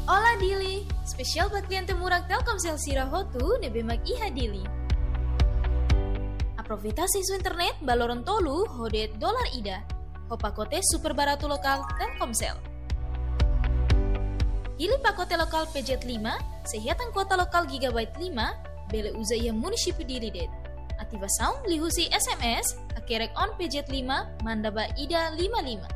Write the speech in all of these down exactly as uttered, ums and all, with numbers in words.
Olá Dili, espesiál ba kliente murak Telkomsel sira hotu ne'ebé mak iha Dili. Aproveita asesu internet ba loron tolu ho de'it dolar ida, ho pakote super baratu lokál Telkomsel. Hili pakote lokál P Z lima, sei hetan kuota lokál gigabyte lima, bele uza iha munisípiu Dili de'it. Ativasaun liuhusi S M S, hakerek on P Z lima, manda ba ida lima lima.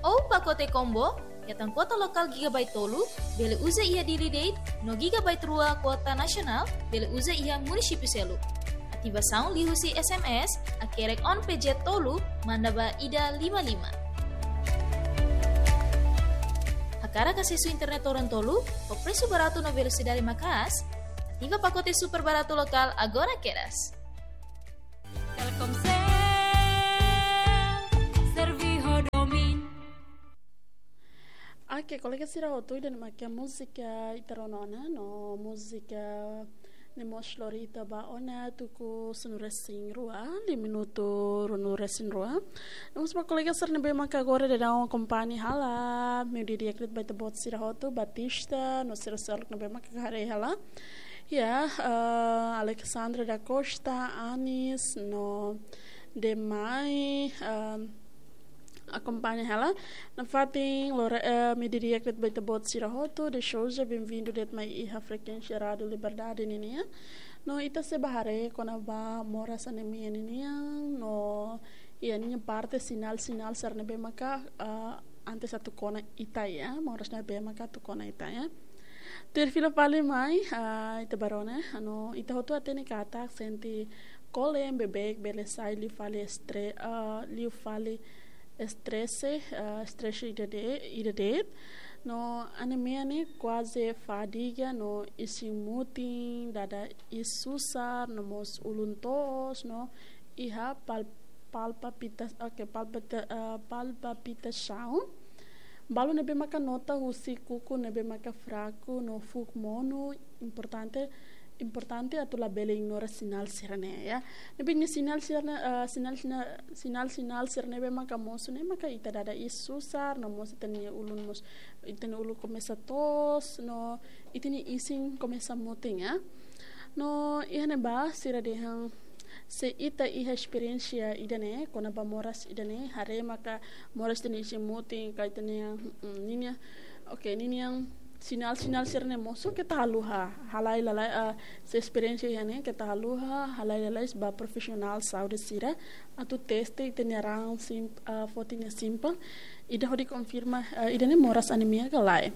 Ou pakote combo, hetan kuota lokál gigabyte tolu, bele uza iha Dili de'it, no gigabyte rua kuota nasionál, bele uza iha munisípiu seluk. Ativasaun liuhusi S M S, hakerek on P Z tolu, manda ba ida lima lima. Hakarak asesu internet loron tolu, ho presu baratu no velosidade maka'as, ativa pakote super baratu lokál agora kedas. Telkomsel, servi ho domin. Oke, kolega sira hotu, ida-ne'e mak múzika ita rona ona, no múzika ne'e mós lori ita ba ona tuku sanulu-resin-rua, liu minutu ruanulu-resin-rua. No mós ba kolega sira ne'ebé maka agora daudaun akompaña hela, ha'u di'ak de'it ba ita-boot sira hotu, Batista, no sira seluk ne'ebé maka haree hela. Ya, eh, Alexandra da Costa, Anis, no demais, eh, akompaña hela. Nafatin, lore, eh, ha'u di'ak de'it ba ita-boot sira hotu, de Souza, benvindu de'it mai iha frekuénsia Rádiu Liberdade ninian. No ita sei bá haree kona-ba moras anemia ninian, no iha ninia parte sinál-sinál sira ne'ebé maka, eh, antes atu kona ita ya, moras ne'ebé maka atu kona ita ya. Tuir fila fali mai, ah, ita bá rona, no ita hotu hatene katak sente kole beibeik bele sai liu fali estre-, ah, liu fali estrese, ah, estrese ida de-, ida de'it. No anemia ne'e kuaze fadiga, no isin mutin, dada iis susar, no mós ulun toos, no iha pal-, palpapita-, oke, palpita-, eh, palpitasaun. Balu ne'ebé maka nota husi kuku ne'ebé maka fraku no fuuk monu, importante, importante atu labele ignora sinál sira-ne'e, ya. Ne'ebé nia sinál sira-ne'e, eh, sinál, sinál, sinál, sinál sira ne'ebé maka mosu ne'e maka ita dada iis susar, no mós ita-nia ulun mós, ita-nia ulun komesa toos, no ita-nia isin komesa mutin, ya. No iha ne'ebá sira dehan se ita iha esperiénsia ida-ne'e, kona-ba moras ida-ne'e, haree maka moras ida-ne'e isin mutin, ka ita-nia, mm, ninia, oke, ninia sinál-sinál sira-ne'e mosu, keta haluha, halai lalais, ah, se esperiénsia iha ne'e, keta haluha, halai lalais ba profisionál saúde sira, atu teste ita-nia raan sim-, ah, foti ne'e simples, ida hodi konfirma, eh, ida-ne'e moras anemia ka lae.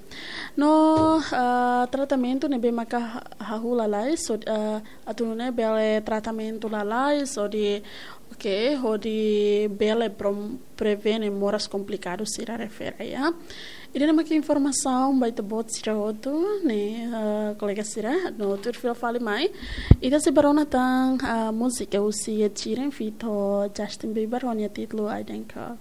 No, eh, tratamentu ne'ebé maka ha-, hahú lalais, so, eh, atu nune'e bele tratamentu lalais, hodi, oke, hodi bele prom-, prevene moras komplikadu sira refere, ya. Ida-ne'e maka informasaun ba ita-boot sira hotu, ne'e, eh, kolega sira, no tuir fila fali mai. Ita sei bá rona tan, eh, múzika husi Ed Sheeran feat Justin Bieber, ho nia títulu I Don't Care.